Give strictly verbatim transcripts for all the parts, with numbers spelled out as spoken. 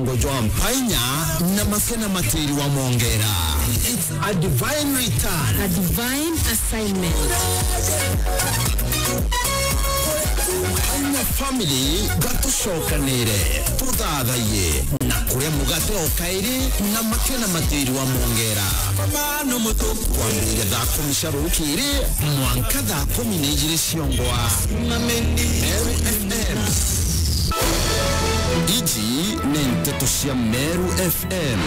Ngo jwa mpainya na makena matiri wa mongera. It's a divine return. A divine assignment. Mpainya family, gatucokanire, tuthathaiye, na kuria mugate o kairi na makena matiri wa mongera. Kwambire thaa kumi cia rukiri, mwanka thaa kumi na ijiri ciongwa. Meru F M. Iji ni nteto cia Meru F M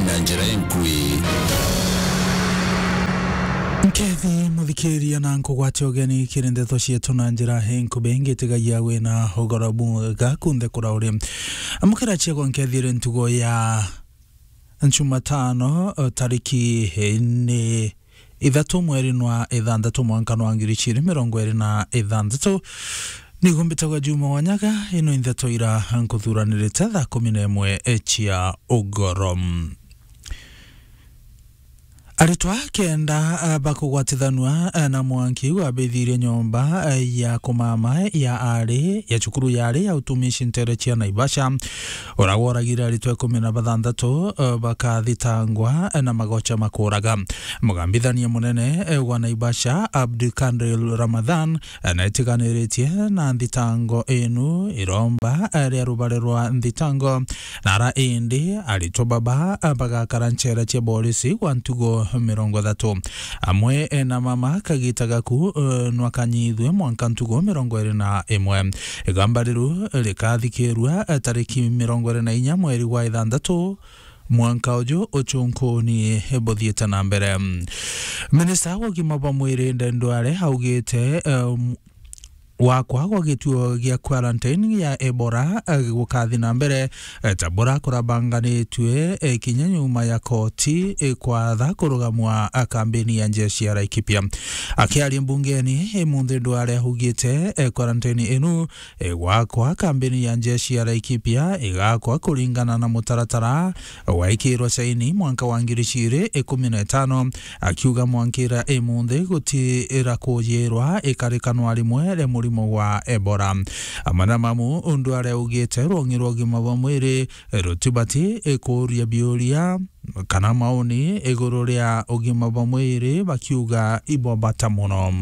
na njira inkui. Nkethi muthikiria na nkugwate ugeni kiri nteto cietu na njira inkubi, ngitigagia wina ugoro bwega kunthe kura uri. Amukira ciakwa nkethire ntugo ya Jumatano, tariki ni ithatu mweri nwa ithanthatu mwanka nwa ngiri ijiri mirongo iri na ithanthatu. Nigo mbitagwa Juma Wanyaga, ino i nteto ira nkuthuranirite thaa kumi na imwe cia ugoro. Aritwa kenda, ah, bakugwatithanua, ah, na mwanki wabithirie nyomba, ah, ya kumama ya ari, ya cukuru ya ari ya utumishi ntere cia Naivasha. Uria woragire aritwa ikumi na bathanthatu, eh, bakathitangwa, eh, na magocha makuraga. Mugambithania munene, eh, wa Naivasha, Abdulkadir Ramadhan, eh, naitiganiritie na nthitango inu iromba, eh, ria rubare rwa nthitango, na ara indi aritwa baba, eh, bagakara nchera cia borisi gwa ntugo mirongo ithatu. Amwe, eh, na mama kagita gaku, eh, nwakanyithwe mwanka ntugo mirongo iri na imwe. Igamba riru rikathikirua, eh, tariki mirongo iri na inya mweri wa ithanthatu mwanka uju uchunkuni buthiite na mbere. Minista wa ugima bwa mwiri Aden Duale augite, eh, gwakwa gwa gituo gia quarantine ya Ebola, eh, gukathi na mbere, eh, ta bura kurabanganitue, eh, kinya nyuma ya koti, eh, kwatha kurugamwa, ah, kambeni ya njeshi ya Laikipia. Akiaria mbungeni, eh, munthi Duale augite, eh, quarantine inu igwakwa kambeni ya njeshi ya Laikipia igakwa kuringana na mutaratara waikirwe saini mwanka wa ngiri ijiri ikumi na itano, akiuga mwankira imunthi gutira kujirwa ikarikanwa rimwe ria murimo wa Ebola. Amwe na mamu undu aria augite rwongi rwa ugima bwa mwiri rutibati ikuria biuria kana maoni iguru ria ugima bwa mwiri bakiuga ibwa bata muno.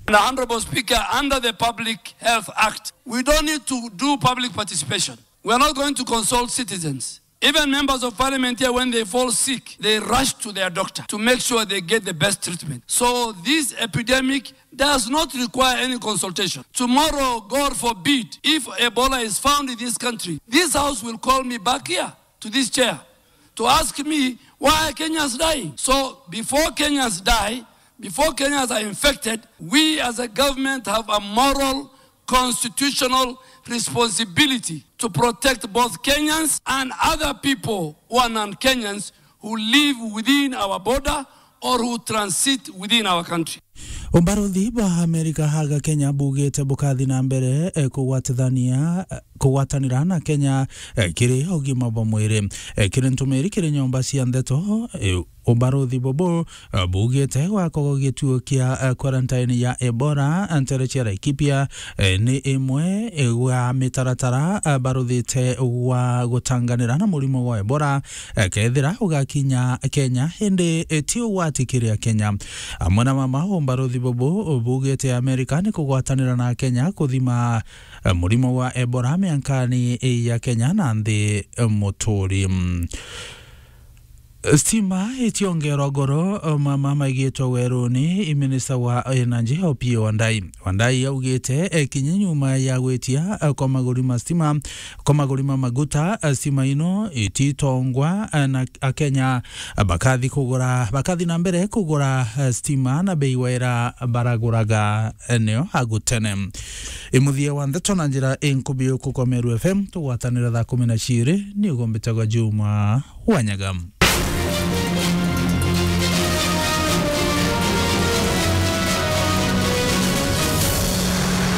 The Honorable Speaker, under the Public Health Act, we don't need to do public participation. We are not going to consult citizens. Even members of parliament here, when they fall sick, they rush to their doctor to make sure they get the best treatment. So this epidemic does not require any consultation. Tomorrow, God forbid, if Ebola is found in this country, this house will call me back here to this chair to ask me why Kenyans dying. So before Kenyans die, before Kenyans are infected, we as a government have a moral, constitutional responsibility to protect both Kenyans and other people who are non-Kenyans who live within our border or who transit within our country. Ubarothi bwa Amerika haga Kenya bugite bukathi na mbere, eh, kugwatithania, eh, kugwatanira na Kenya, eh, kiri ugima bwa mwiri. Eh, kiri ntumiri kiri nyomba cia ndeto, eh, ubarothi bubu, eh, bugite gwakwa gwa gituo kia, eh, quarantine ya Ebola, eh, ntere cia Laikipia, eh, ni imwe, eh, gwa mitaratara, eh, barothite gwa gutanganira na murimo wa Ebola, eh, kethira ugakinya Kenya, indi, eh, ti ugwati kiri Akenya. Amwe na mama umbarothi bubu bugite Amerika ni kugwatanira na Kenya kuthima, eh, murimo wa Ebola miankani ya Kenya na nthi, eh, muturi. Stima itiongerwa goro, eh, mama maigitwe weruni, i minista wa energy Opiyo Wandayi. Wandayi augite, eh, kinya nyuma ya gwitia, eh, kwa maguri ma stima, kwa maguri ma maguta, eh, stima ino ititongwa, eh, na Akenya, eh, bakathi kugura, bakathi na mbere kugura, eh, stima na bei waira baraguraga, eh, nio agutene. Imuthia wa ndeto na njira inkubi uku kwa Meru F M, tugwatanira thaa kumi na ciiri, ni ugombitagwa Juma Wanyaga.